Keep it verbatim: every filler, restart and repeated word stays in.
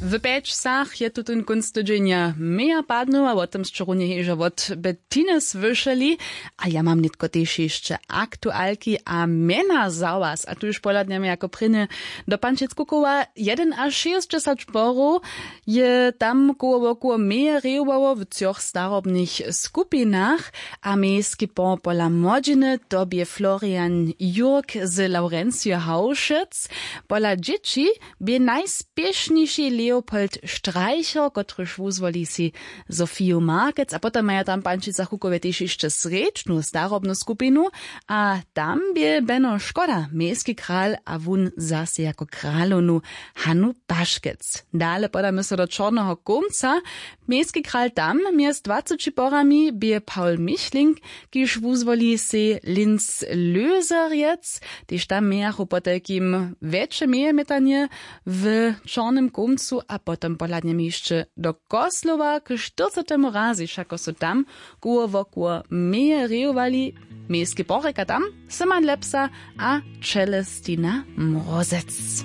W pjeć wsach je tutón kónc tydźenja meja padnył a wo tym sće runje hižo wot Bettiny słyšeli. A ja mam nětko tež hišće aktualki a mjena za was a tuž pohladnjamy jako prěnje do pančic kukowa. Jedynašěsćdźesać porow je tam koło wokoło meje rěhowało w třoch starobnych skupinach. A mejski por pola młodźiny to bě florian jurk z laurencio haušec. Pola dźěći bě najspěšniši leopold streicher kotryž wuzwoli sej sofiju markec a potom maja tam w pančicach hukowje tež hišće srjedźnu starobnu skupinu. A tam bě beno škoda mejski kral a wón zaso jako kralownu hanu paškec. Dale podamy so do čorneho kómca. Mejski kral tam mjez dwaceći porami bě pawl michling, kiž wuzwoli sej linz löserjec. Tež tam mějachu potajkim wjetše mejemjetanje w čornym kómcu a potom pohladnjemy hišće do koslowa k štyrcetemu razy wšako su tam koło wokoło meje rejowali. Mejske porjeka tam syman lepsa a čelestina mrozec.